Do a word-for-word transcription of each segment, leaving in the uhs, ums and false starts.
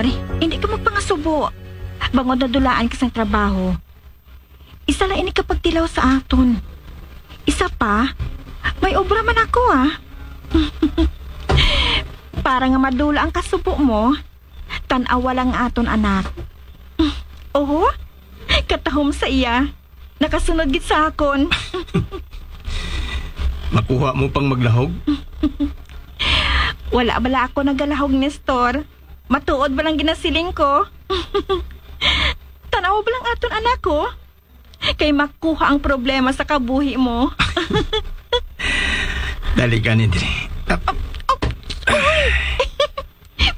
Hindi ka magpangasubo. Bangod nadulaan ka sang trabaho. Isa lang ini ka pagtilaw sa aton. Isa pa, may obra man ako, ah. Para nga madula ang kasubo mo, tan-awa lang aton anak. Oho, katahom sa iya. Nakasunod gid sa akon. Makuha mo pang maglahog? Wala bala ako nagalahog, Nestor. Matuod ba lang ginasiling ko? Tanaw ba lang aton anak ko? Kay makuha ang problema sa kabuhi mo. Dali ka ni diri.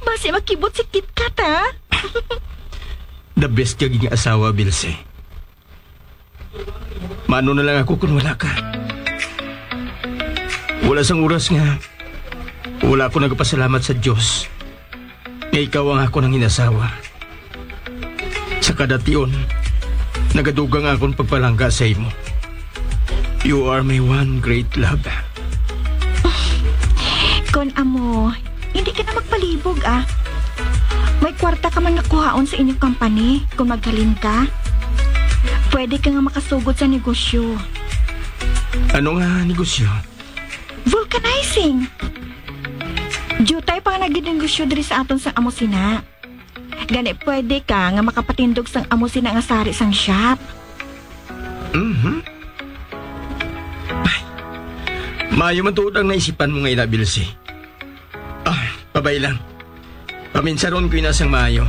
Basi makibot si KitKat, ha? The best ka nga asawa, Bilse. Mano na lang ako kung wala ka. Wala sang oras nga wala ako nagpasalamat sa Diyos nga ikaw ang ako nang inasawa. Sa kada tion, nagadugang akong pagpalangga sa imo. You are my one great love. Kon amo, hindi ka na magpalibog, ah. May kwarta ka man nga kuhaon sa inyong company kung maghalin ka. Pwede ka nga makasugod sa negosyo. Ano nga negosyo? Vulcanizing. Diutay pa nga naginegosyo diri sa aton sa amo sina. Gani pwede ka nga makapatindog sang amo sina nga sari sang shop. Mhm. Ay, maayo man tuod ang naisipan mo nga ina, Bilsi. Ah, pabay lang. Paminsaron ko ina sang maayo.